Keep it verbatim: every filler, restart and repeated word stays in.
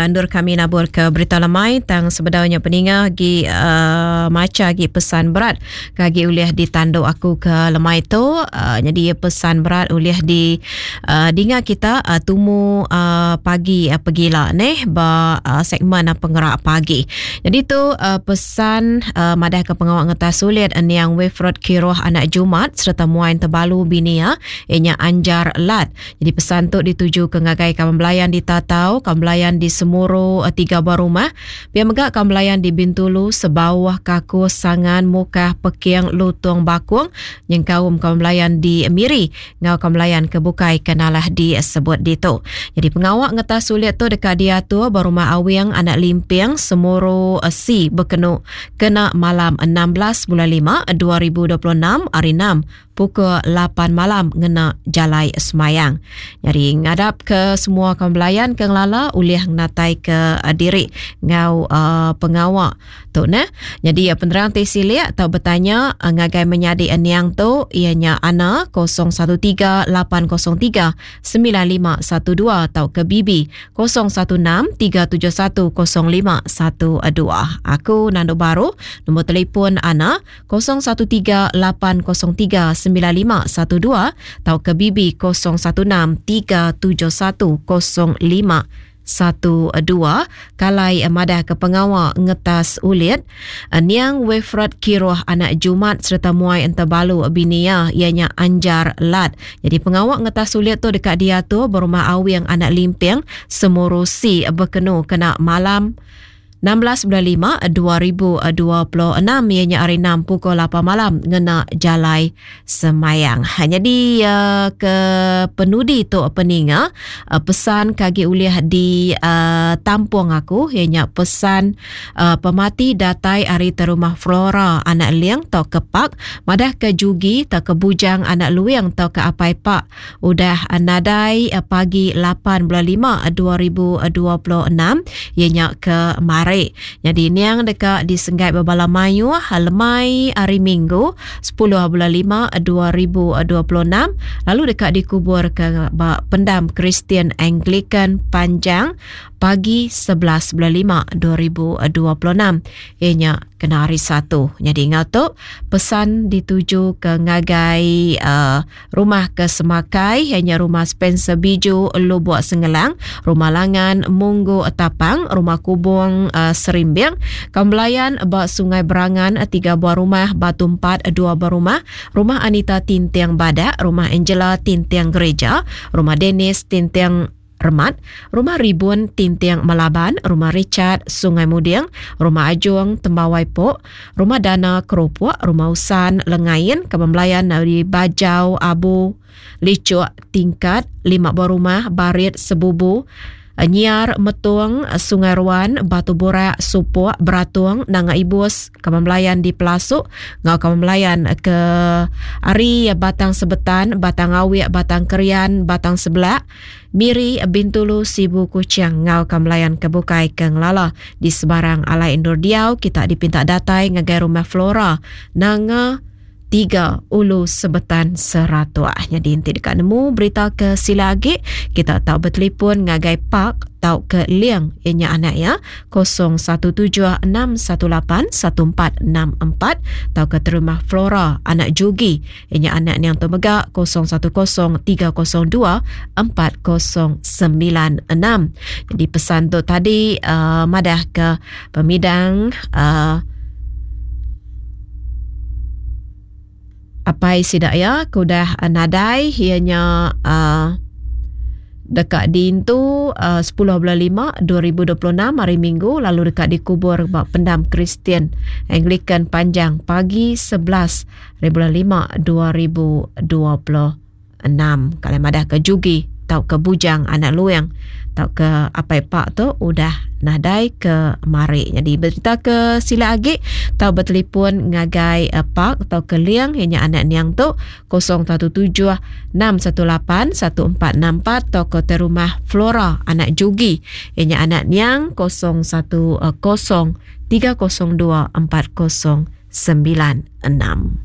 Endur kami nabur ke berita lemai tang sebedaunya peninga gi uh, maca gi pesan berat kagi ulih ditandu aku ke lemai tu. Uh, jadi pesan berat ulih di uh, dinga kita uh, tumu uh, pagi uh, pegila neh ba uh, segmen uh, pengerak pagi. Jadi tu uh, pesan uh, madah ke pengawak ngetas sulit niang Wilfred Kiroh anak Jumat serta muain tebalu binia ianya Anjar Lat. Jadi pesan tu dituju ke ngagai kawan belayan di Tatau, kawan belayan di Semuru tiga buah rumah, pia mega kawan belayan di Bintulu, Sebawah, Kaku, Sangan, Mukah, Peking, Lutung, Bakung, nyengkaum kawan belayan di Miri, ngau kawan belayan ke bukai kenalah disebut ditu. Jadi pengawak ngetas sulit tu dekat diatur berumah Awing anak Limping Semuru C berkenu kena malam enam belas bulan lima dua ribu dua puluh enam hari enam pukul lapan malam ngena jalai semayang. Jadi ngadap ke semua kawan belayan ke ngelala ulih ngatai ke uh, diri ngau uh, pengawak tu nah. Jadi uh, penerang ti silik atau bertanya uh, ngagai menyadi eniang tu ianya Ana kosong satu tiga lapan kosong tiga sembilan lima satu dua atau ke B B kosong satu enam tiga tujuh satu kosong lima satu dua. Aku Nando Baru, nombor telefon Ana kosong satu tiga lapan kosong tiga sembilan lima satu dua atau ke B B kosong satu enam tiga tujuh satu kosong lima satu dua. Kalai madah ke pengawak ngetas ulit niang Wilfred Kiroh anak Jumat serta muai entebalu binia ianya Anjar Lat. Jadi pengawak ngetas ulit tu dekat dia tu berumah Awing anak Limping Semuru C berkenu kena malam enam belas bulan lima dua ribu dua puluh enam ianya hari enam pukul lapan malam ngena jalai semayang. Ha, jadi uh, ke penudi tu peninga uh, pesan kagi ulih di uh, tampung aku ianya pesan uh, pemati datai ari terumah Flora anak Liang tau ke Pak madah ke Jugi tau ke Bujang anak Luing tau ke Apai Pak udah uh, nadai uh, pagi lapan bulan lima dua ribu dua puluh enam ianya ke Mari. Jadi niang dekat di Senggai Bebala Mayu lemai hari Minggu sepuluh bulan lima dua ribu dua puluh enam lalu dekat dikubur ke pendam Kristian Anglican Panjang pagi sebelas bulan lima dua ribu dua puluh enam ianya kena hari Satu. Jadi ingat tu pesan dituju ke ngagai uh, rumah ke Semakai ianya rumah Spencer Biju Lubuk Sengelang, rumah Langan Munggu Tapang, rumah Kubung uh, Serimbing, Kambelayan bak Sungai Berangan tiga buah rumah, Batu Empat dua buah rumah, rumah Anita Tintiang Badak, rumah Angela Tintiang Gereja, rumah Dennis Tintiang Remat, rumah Ribun Tintiang Melaban, rumah Richard Sungai Muding, rumah Ajung Tembawai Pok, rumah Dana Keropok, rumah Usan Lengain, Kebembelayan dari Bajau Abu Licuk Tingkat, lima buah rumah, Barit Sebubu, Nyiar Metung, Sungai Ruan, Batu Borak, Supok, Beratung, Nanga Ibus, Kebembelayan di Pelasuk, ngau Kebembelayan ke Ari Batang Sebetan, Batang Awik, Batang Kerian, Batang Sebelak, Miri, Bintulu, Sibu, Kuching, ngau Kebembelayan ke Bukai, ke Ngelala. Di sebarang alai indur diau, kita dipinta datai ngagai rumah Flora, Nanga tiga Ulu Sebetan Seratua. Jadi inti dekat nemu berita ke sila agi, kita tahu bertelefon ngagai Pak tau ke Liang ianya anak ya kosong satu tujuh enam satu lapan satu empat enam empat tau ke terumah Flora anak Jugi ianya anak yang temega kosong satu kosong tiga kosong dua empat kosong sembilan enam. Jadi pesan tu tadi uh, madah ke pemidang uh, apai sidak ya kudah nadai ianya uh, dekat diintu uh, sepuluh bulan lima dua ribu dua puluh enam hari Minggu lalu dekat dikubur bak pendam Kristian Anglican Panjang pagi sebelas bulan lima dua ribu dua puluh enam. Kalau madah ke Jugi tau ke Bujang anak Luang tau ke apai pak tu udah nadai ke mari. Jadi berita ke sila agi tau bertelefon ngagai uh, pak tau ke Liang ianya anak niang tu kosong satu tujuh enam satu lapan satu empat enam empat tau ke rumah Flora anak Jugi ianya anak niang kosong satu kosong tiga kosong dua empat kosong sembilan enam.